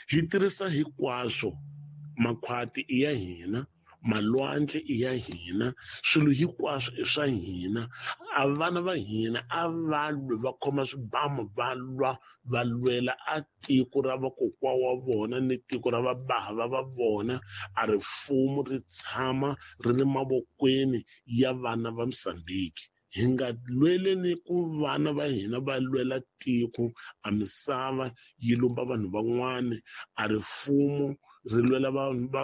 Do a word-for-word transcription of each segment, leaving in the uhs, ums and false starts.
Hi tirhisa hinkwaswo, makhwati i ya hina, malwandle i ya hina, swilo hinkwaswo i swa hina. A vana va hina a va lwi, va khoma swibamu va lwa, va lwela a tiko ra vakokwa wa vona ni tiko ra vabava va vona. A ri fumo ri tshama ri ri mavokweni ya vana va Mozambique. Hi nga lweleni ku vana va hina va lwela tiko, a misava yi lumba vanhu van'wani, a ri fumo ri lwela vanhu va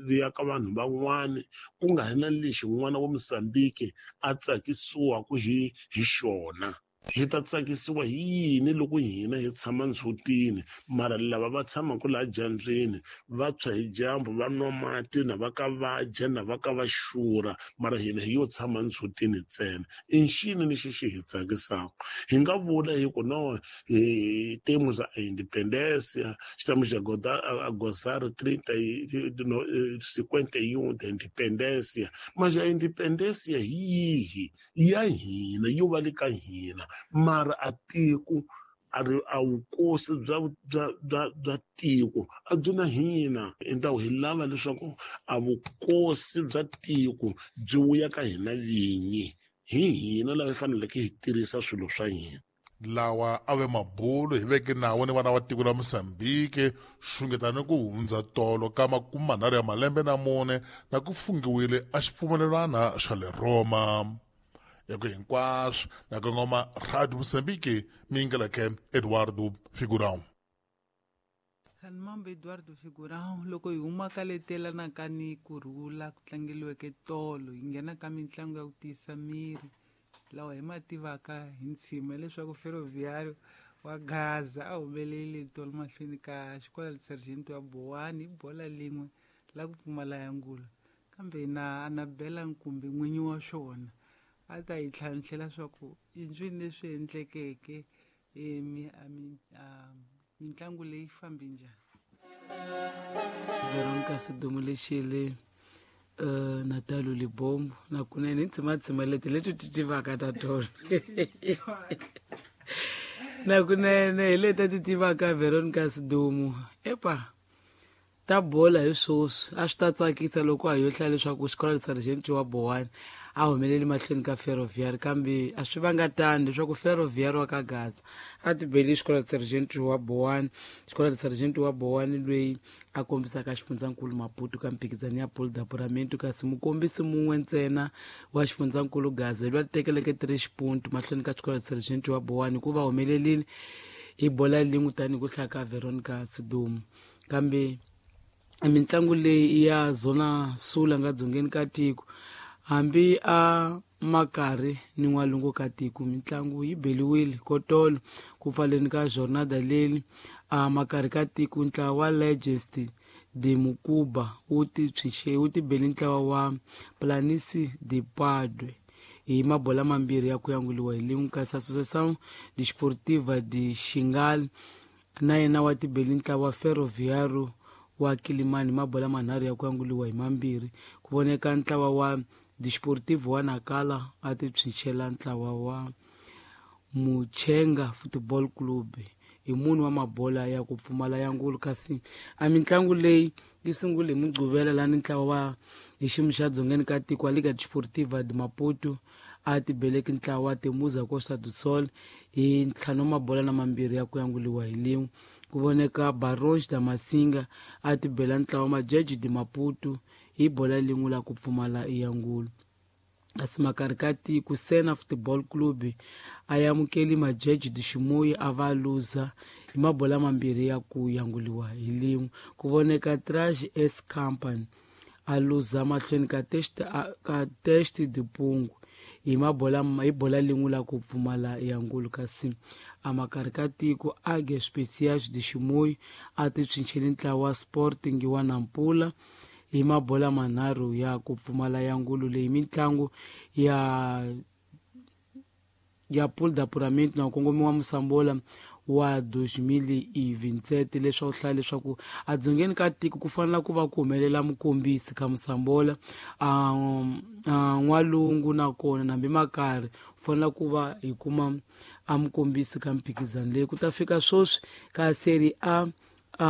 ri ya ka vanhu van'wani, ku nga ri na lexi n'wana wa Mozambique a tsakisiwaka hi hi xona. Hi ta tsakisiwa hi yini loko hina hi tshama ndzhutini, mara lava va tshamaka laha dyambyini va tshwa hi dyambu, va nwa mati, na va ka va dya, na va ka va xurha, mara hina hi yo tshama ndzhutini ntsena? I nxini lexi xi hi tsakisaka? Hi nga vula hi ku no, hi temos a independência, estamos a a gozar trinta e cinquenta e um da independência, mas a independência hi yihi? Ya hina, yo va le ka hina, mara a tiko a ri a vukosi bya bya bya bya tiko a byi na hina. Hi hi lava leswaku a vukosi bya tiko byi vuya ka hina vinyi, hi hina lava hi faneleke hi tirhisa swilo swa hina. Lawa a ve mabulo hi veke nawo ni vana va tiko la Mozambique xungetani ku hundza tolo ka makume manharhu ya malembe na mune na ku fungiwile a xipfumelelwana xa le Roma. Eku hinkwaswo na kongoma Radio Mozambique, mingeleke Eduardo Figurão. Khanimambo Eduardo Figurão, loko hi huma ka letelana ni kurhula ku tlangeliweke tolo, hi nghena ka mitlangu ya ku tiyisa miri lawa hi ma tivaka hi ntshima leswaku Ferroviário wa Gaza a humelele tolo mahlweni ka xikolo Sergeant wa Bowani hi bola lin'we la ku pfumala ya ngula, kambe na Anabela Nkumbi n'winyi wa swona a ta hi tlhantlhela swa ku i ncwini leswi endlekeke mitlangu leyi fambi njhani. Veronica Sidumo Lexele, uh, Natalo Libombo na kunene hi ntshima leti leti ti tivaka ta tona na kunene hi leti ti tivaka Veronica Sidumo. Epa ta bola hi swoswi a swi ta tsakisa loko a yo hlaya leswaku xikolo Sergeant wa Bowani a humeleli mahlweni ka Ferroviário, kambe a swi vanga tani leswaku Ferroviário wa ka Gaza a ti beli xikolo Sergeant wa Bowani. Xikolo Sergeant wa Bowani loyi a kombisaka xifundzankulu Maputo ka mphikizano ya Pool d'Apuramento, kasi mukombisi mun'we ntsena wa xifundzankulu Gaza loyi a tekeleke three xipuntu mahlweni ka xikolo Sergeant wa Bowani hikuva humelerile hi bola lin'we tanihi ku hlaya ka Veronica Sidumo. Kambe mitlangu leyi ya Zona Sul nga dzongeni ka tiko, hambi a makari ni n'walungu ka tiko, mitlangu yi beliwile kotolo ku pfaleni ka jornada leyi a makari ka tiko. Ntlawa wa Legends de Mukuba wu ti tshwinxe wu ti beli ntlawa wa Planisi de Padwe hi mabola mambirhi ya ku yanguliwa hi lin'we, kasi Associação Desportiva de Xingal na yena wa ti beli ntlawa wa Ferroviário wa Kilimani mabola manharhu ya ku yanguliwa hi mambirhi. Ku voneka ntlawa wa Desportivo wa Nakala a ti tshwinxela ntlawa wa Muchenga Football Club hi munhu wa mabola ya ku pfumala ya ngulu. Kasi a mitlangu leyi yi sungule hi Mugqivela lani ntlawa wa hi xiyimo xa dzongeni ka tiko wa Liga Desportiva de Maputo a ti beleki ntlawa wa Temuza Costa do Sol hi ntlhanu wa mabola na mambirhi ya ku yanguliwa hi lin'we. Ku voneka Barões da Masinga a ti bela ntlawa Majeji de Maputo hi bola lin'we la ku pfumala ya ngulu. Kasi makari ka tiko Sena Football Club a amukeli Majeji de Chimoio a va luza hi mabola mambirhi ya ku yanguliwa hi lin'we. Ku voneka Trash S Company a luza mahlweni ka Test ka Test de Pungu hi mabola hi bola lin'we la ku pfumala ya ngulu. Kasi a makari ka tiko Águias Especiais de Chimoio a ti tshwinxeli ntlawa wa Sporting wa Nampula hi mabola manharhu ya ku pfumala ya ngulu. Leyi mitlangu ya ya Pool d'Apuramento na kongomiwa Musambola wa dois mil e vinte e sete, leswaku hlaya leswaku a dzongeni ka tiko ku fanela ku va ku humelela mukombisi ka Musambola a n'walungu nakona nambi makari ku fanela ku va hi kuma a mukombisi ka mphikizano leyi. Ku ta fika sweswi ka Serie A a